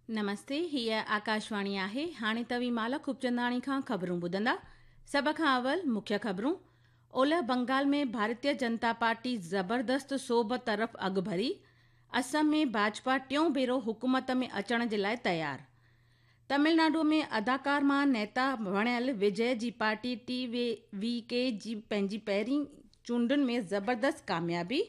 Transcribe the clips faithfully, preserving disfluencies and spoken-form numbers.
نمستي، هيءَ آڪاشواڻي آهي. هاڻي توهين مالا خوبچنداڻي کان خبرون ٻڌندا. سڀ کان اول مکيه خبرون. اولهه بنگال ۾ ڀارتيه جنتا پارٽي زبردست سوڀ طرف اڳڀري. اسم ۾ ڀاجپا ٽيون ڀيرو حڪومت ۾ اچڻ جي لاءِ تيار. تامل ناڊو ۾ اداڪار مان نيتا بڻيل وجي جي پارٽي ٽي وي ڪي جي پنهنجي پهرين چونڊن ۾ زبردست ڪاميابي.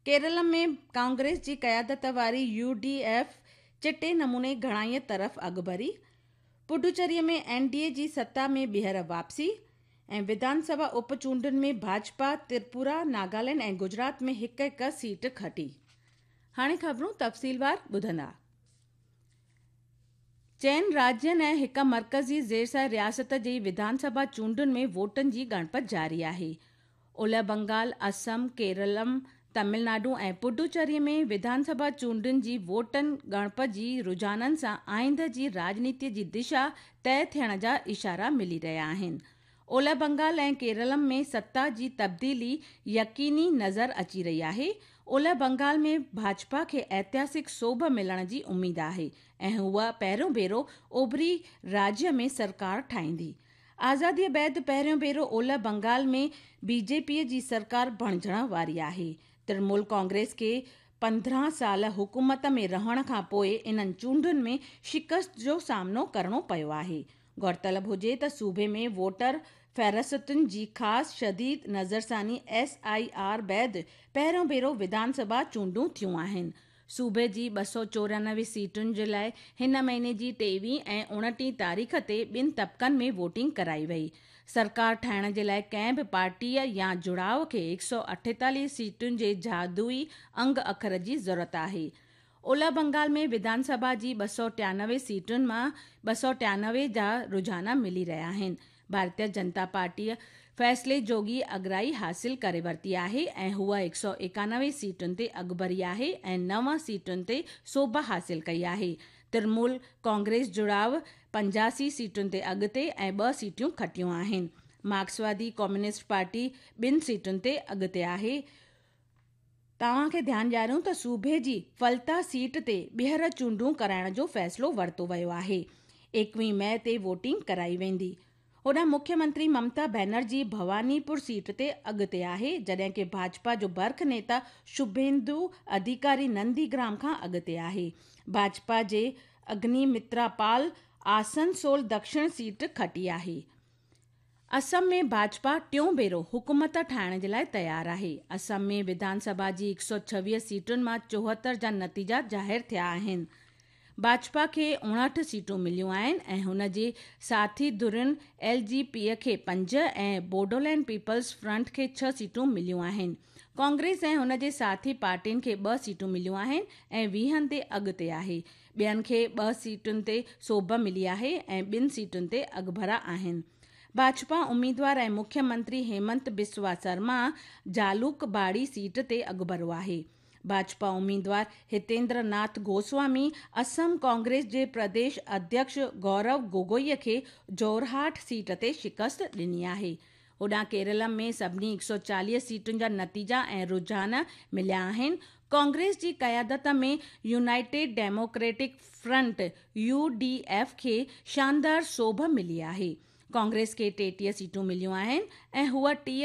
ڪيرل ۾ ڪانگريس جي قيادت واري يو ڊي ايف چٽي نموني گهڻائيءَ طرف اڳڀري. پڊوچيري ۾ اين ڊي اي جي ستا ۾ ٻيهر واپسي. ۽ وڌان سڀا اپ چونڊن ۾ ڀاجپا تريپورا، ناگالينڊ ۽ گجرات ۾ هڪ هڪ سيٽ کٽي. هاڻي خبرون تفصيلوار ٻڌندا. چئن راجين ۽ هڪ مرڪزي زيرسايه رياست جي وڌان سڀا چونڊن ۾ ووٽن جي ڳڻپ جاري آهي. اولهه بنگال، اسم، ڪيرلم، تامل ناڊو ۽ پڊوچيري ۾ وڌان سڀا چونڊن جي ووٽن ڳڻپ جي رجحانن سان آئنده جي راڄنيتي جي دشا طئي ٿيڻ جا اشارا ملي رهيا آهن. اولهه بنگال ۽ ڪيرلم ۾ ستا جي تبديلي يقيني نظر اچي رهي آهي. اولهه بنگال ۾ ڀاجپا کي اتهاسڪ سوڀ ملڻ جي اميد آهي ۽ هوءَ پهريون ڀيرو اوڀري راجيه ۾ سرڪار ٺاهيندي. آزاديءَ بعد پهريون ڀيرو اولهه بنگال ۾ بي جي پيءَ جي سرڪار بڻجڻ واري آهي. ترڻمول ڪانگريس کي پندرهن سال حڪومت ۾ رهڻ کان پوءِ انهن چونڊن ۾ شڪست جو سامنو ڪرڻو پيو آهي. غور طلب هجي ته صوبي ۾ ووٽر فهرستن جي خاص شديد نظرثاني ايس I R بعد پهريون ڀيرو وڌان سڀا چونڊون ٿيون آهن. صوبي جي ٻه سؤ چورانوي سيٽن جي لاءِ هن مهيني جي ٽيويهه ۽ اڻٽيهه تاريخ تي ٻن طبقن ۾ ووٽنگ ڪرائي وئي. سرڪار ٺاهڻ جي لاءِ ڪنهن به پارٽيءَ يا جڙاءُ کي هڪ سؤ اٺيتاليهه سيٽن جي جادوئي انگ اکر جي ضرورت آهي. اولهه بنگال ۾ وڌان سڀا جي ٻه سؤ ٽيانوي سيٽن مان ٻه سؤ ٽيانوي جا رجحان ملي رهيا آهن. ڀارتيه جنتا پارٽيءَ فيصلي جوڳي اڳرائي حاصل ڪري ورتي آهي ۽ هوءَ هڪ سؤ ايڪانوي سيٽن تي اڳڀري آهي ۽ نو سيٽن تي سوڀ حاصل ڪئي آهي. ترڻمول ڪانگريس جڙاءُ پنجاسي سيٽن تي اڳتي ۽ ٻه سيٽون کٽيون آهن. مارڪسوادي ڪميونسٽ پارٽي ٻن سيٽن تي اڳتي آهي. توهان کي ڌيان ڏياريون ته صوبي جي فلتا سيٽ تي ٻيهر چونڊون ڪرائڻ جو فيصلو ورتو ويو آهي. ايڪويهه مئي تي ووٽنگ ڪرائي ويندي. هوڏانهن مکيه منتري ممتا بينرجي ڀوانيپور سيٽ تي اڳتي آهي، جڏهن ڪه ڀاجپا جو برک نيتا شڀيندو اڌيڪاري ننديگرام کان اڳتي آهي. ڀاجپا جي اگنيمترا پال آسنسول دڪشڻ سيٽ کٽي آهي. اسم ۾ ڀاجپا ٽيون ڀيرو حڪومت ٺاهڻ جي لاءِ تيار آهي. اسم ۾ وڌان سڀا جي هڪ سؤ ڇويهه سيٽن مان چوهتر جا نتيجا ظاهر ٿيا آهن. ڀاجپا کي اڻهٺ سيٽون مليون آهن ۽ هن جي ساٿي ڌرين ايل جي پيءَ کي پنج ۽ بوڊولينڊ پيپلز فرنٽ کي ڇهه سيٽون مليون آهن. ڪانگريس ۽ هن جي ساٿي پارٽين کي ٻه سيٽون مليون آهن ۽ ويهن تي اڳتي آهي. ٻين کي ٻه سيٽن تي سوڀ ملي آهي ۽ ٻن سيٽن تي اڳڀرا آهن. ڀاجپا اميدوار ۽ مکيه منتري هيمنت بسوا شرما جالوڪ باڙي سيٽ تي اڳڀرو آهي. ڀاجپا اميدوار هتيندر ناٿ گوسوامي اسم ڪانگريس جي پرديش اڌيڪش گورو گوگوئيءَ کي جورهاٽ سيٽ تي شڪست ڏني آهي. هوڏانهن ڪيرل ۾ سڀني هڪ سؤ چاليهه سيٽن جا نتيجا ۽ رجحان مليا آهن. ڪانگريس جي قيادت ۾ united democratic front U D F کي شاندار سوڀ ملي آهي. ڪانگريس کي ٽيٽيهه سيٽون مليون آهن ۽ هوءَ ٽيهه